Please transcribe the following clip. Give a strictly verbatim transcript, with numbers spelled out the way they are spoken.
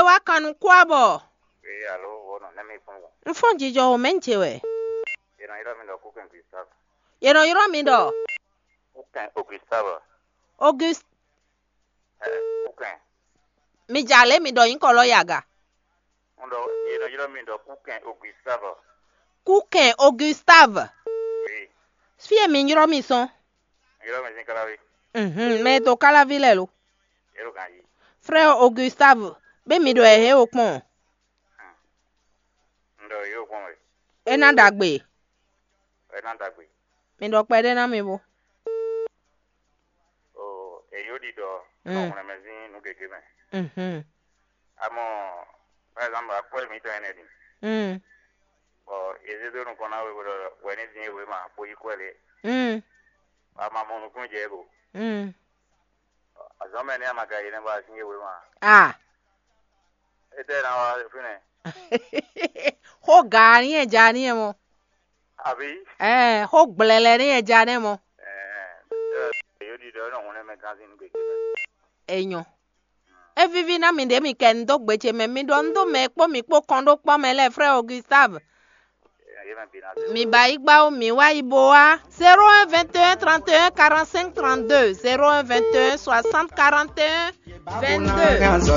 Wá kan nukún abɔ. Ee, alo, wɔ nɔ nɛ mi fún wọn. N fɔ́n jijɔ o mɛ n ce wɛ. Yɛ nɔ ylɔ́ mi ɖɔ Kúkɛn Gustave. Yɛ nɔ ylɔ́ mi ɖɔ. Kúkɛn Augustave. Auguste. Ɛ, Kúkɛn. Mi ja lě mi ɖɔ nyǐkɔ lɔ yi aga. N ɖɔ yɛ nɔ ylɔ́ mi ɖɔ Kúkɛn Augustave. Kúkɛn Augustave. Ee, Fí e mi ylɔ́ mi sɔn. Ylɔ́ mi sín káláví. Mhm, mɛ e to káláví lɛ lo. Yɛ ɖo ganjí. Frère Augustave, bí mi ɖo ɛ hé o kpɔn. N ɖɔ yóò kpɔn wɛ. É ná ɖagbe. Ɛ ná dagbe. Mi ɖɔ kpɛɖé ná mi bo. O, èyí ó ɖiɖɔ. Mm. Nɔ hwlɛnmɛ sín nú gěgé mɛ. Mhm. Amɔ, par exemple, akwɛ́ mǐtɔn ɛnɛ ɖi. Mm. Bɔ yě zé dó nukɔn ná we bó ɖɔ wɛ ní dín é wěma bó yí kwɛ́ lě. Mm. Ama mɔ nukúnnú jɛ é go. Mm. Azɔ̌ mɛ nɛ́ a ma ka yi nɛ́ bɔ a sín é wěma. Ah. Étɛ́ ná wá fínɛ́. Xó gǎ ní e ja ní e mɔ. Àbí? Ɛɛ, xó gblɛlɛ ní e ja ní e mɔ. Ɛɛ, yóò ɖi ɖɔ é nɔ hun nɛ́ mɛ gán sín nú gěgé mɛ. Enyɔ. É víví ná mi ɖě mi kɛ un dó gbe ce mɛ, mi ɖɔ un dó mɛ e kpó mi kpó kɔn ɖó kpɔ́ mɛ lɛ́ɛ, frère Augustave. Yé mɛ bi ná dó. Mi ba yi gbá ó, mi wá yi bo wá. Zéro un vingt et un trente et un quarante-cinq trente-deux, zéro un vingt et un soixante quarante et un vingt-deux.